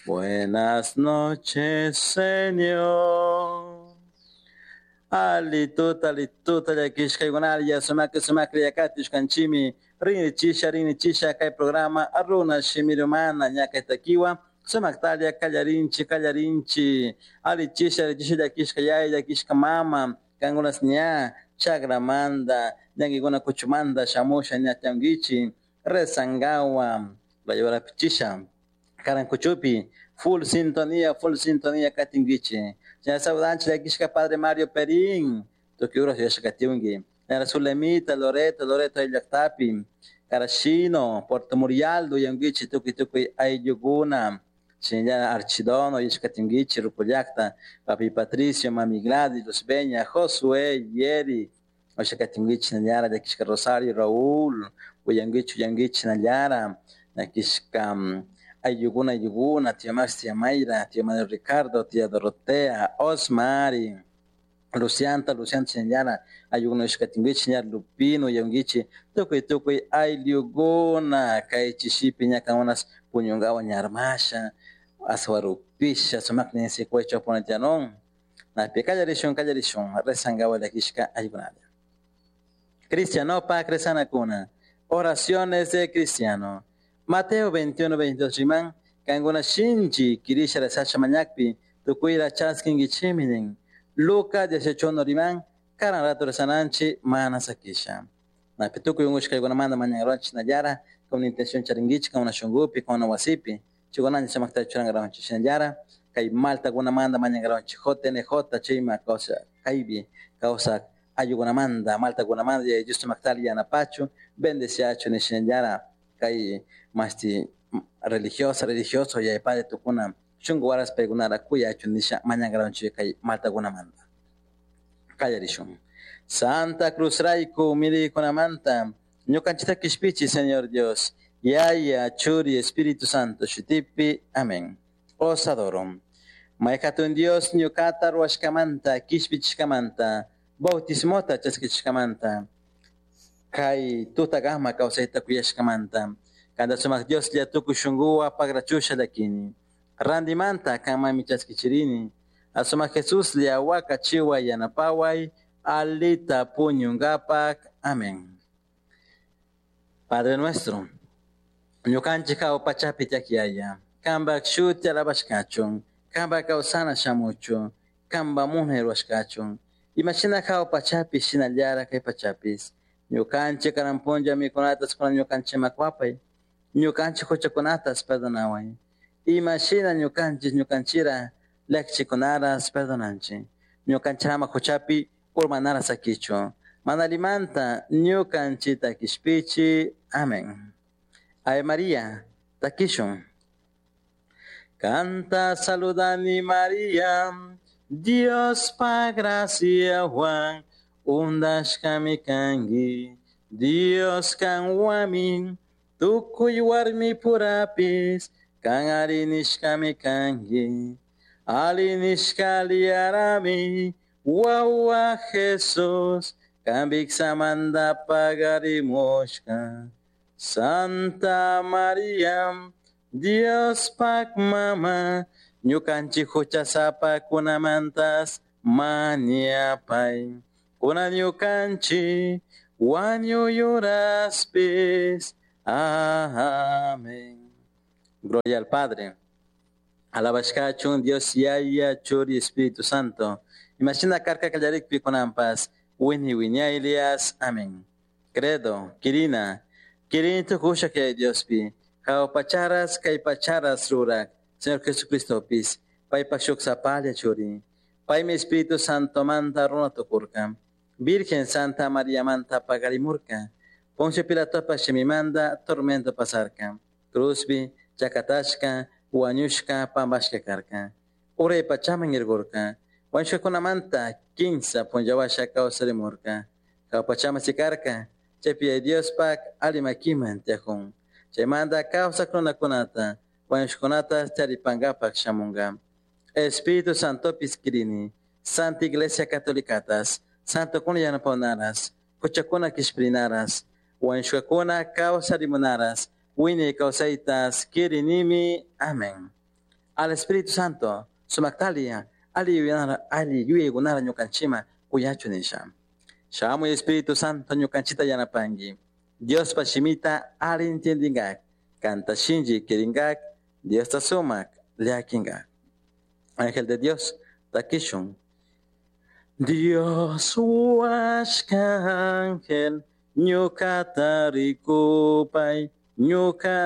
Buenas noches, Señor. Alituta, alituta, llakishkaykunalla, sumakri, sumakri yakatishkanchimi, rinichisha, rinichisha, kay programa, runa shimirumana, ñakaytakiwa, sumaktalla, kallarinchi, kallarinchi, alichisha, alichisha, llakishka yaya, llakishka mama, kankunas ña, chakramanta, ñankikuna kuchumanta, shamusha, ñatankichi, rezangawa, pichisha, karankuchupi, full sintonía katinkichi. Señora saludanchi llakishka padre Mario Perín, tukuy uras yuyashkatiunki. Señora Zulemita, Loreto, Loreto llaktapi, Carashino, Puerto Murialdo uyankichi tukuy tukuy ayllukuna. Señora Archidono yuyashkatinkichi, Rupullakta, papi Patricio, mami Gladys, Luzbeña, Josué, Yeri, uyashkatinkichi nallara llakishka Rosario, Raúl, uyankichi uyankichi nallara, llakishka ayllukuna ayllukuna, tía Max, tía Mayra, tía Manuel Ricardo, tía Dorotea, Osmari, Lucianta, Lucianta chinallara, ayllukuna uyashkatinkichi, ña Lupino uyankichi, tukuy tukuy ayllukuna, kay chishipi ña kankunas puñunkawan ña armasha, aswarupisha, sumakni sikuaychaw punatianon, napi kallarishun, kallarishun, rezankawan llakishka ayllunalla. Cristianopak rezanakuna, oraciones de cristiano. Mateo 21, 22 riman, kankuna shinchi kirisha rezasha mañakpi, tukuyra chaskinkichimi nin. Lucas 18 riman, karan rato rezananchi mana sakisha. Napi tukuy unkushkaykunamanta mañankaronchik nallara, con intención charinkichik, con una shunkupi, con una wasipi, chikunanchik samakta churankaronchik shinallara, kay maltakunamanta mañankaronchik, JNJ chayma kawsa kaypi kawsak ayllukunamanta, maltakunamanta, Yaya Dios sumaktalla yanapachu, bendeciachu nishinallara, kay masti religiosa, religioso, yaya padre tukuna, shunku waras paykunara kuyachu nisha mañankaronchik kay maltakunamanta. Kallarishun. Santa Cruz rayku miriykunamanta, ñukanchikta kishpichi, Señor Dios, Yaya, Churi, Espíritu Santo, shutipi, amén. Os adoro. Mayhatun Dios ñukata ruwashkamanta, kishpichishkamanta, bautismota chaskichishkamanta, kay tutakama kawsayta kuyashkamanta, kanta sumak Dioslla tukuy shunkuwan pagrachusha llakini. Randimanta kanmanmi chaskichirini, asumak Jesuslla wakachiway yanapaway, alita puñunkapak. Amén. Padre nuestro, ñukanchik hawa pachapi tiyak Yaya, kanpak shuti alabashkachun, kanpak kawsana shamuchun, kanpak munay rurashkachun, imashina hawa pachapi shinallara kay pachapis, ñukanchik karan punlla mikunatas kunan ñukanchikman wapay, ñukanchik huchakunatas perdonaway, imashina ñukanchik ñukanchira llakichikunaras perdonanchik, ñukanchirama huchapi urmanara sakichu, mana allimanta ñukanchita kishpichi. Amén. Ave María, takishun. Kanta saludani María, Dios pa gracia Juan, undashkami kanki, Dios kanwami, tukuy warmi purapis, kan arinishkami kanki, alinishka liarami, wawa Jesús, kambiksamanta pagarimushka. Santa María, Dios pak mama, ñukanchik huchasapakunamantas mañapay. Kuna ñukanchik wañuyuraspis. Amén. Gloria al Padre. Alabashkachun Dios Yaya, Churi, Espíritu Santo. Imashina karka kallarikpi kunanpas, wini wiñaylias. Amén. Credo, Kirina, Kirini tukusha kay Diospi, hawa pacharas kay pacharas rurak, Señor Jesucristopis, paypak shuk sapalla churi, paymi Espíritu Santo manta runa tukurka, Virgen Santa María manta pagarimurka, Poncio Pilatopa shimimanta tormento pasarka, cruzpi, chakatashka, wañushka, pambashka karka, uray pachaman irgurka, wañushkakunamanta kinsa punllawasha kawsarimurka, hawa pachaman sikarka, chaypi Yaya Diospak allimakiman tiyakun, chaymanta kawsak runakunata, wañushkunata charipankapak shamunka. Espíritu Santopis kirini, Santa Iglesia Catolicatas, Santokuna yanapawnaras, huchakuna kishpirinaras, wañushkakuna kawsarimunaras, wiñay kawsaytas kirinimi. Amén. Al Espíritu Santo sumaktalla ali yuyanara ali yuyaykunara ñukanchikman kuyachu nisha. Shamuy Espíritu Santo ñukanchikta yanapanki. Diospa shimita ali entiendinkak. Kanta shinchi kirinkak. Diosta sumak llakinkak. Ángel de Dios, takishun. Dios huashka ángel, ñukata rikupay, ñuka.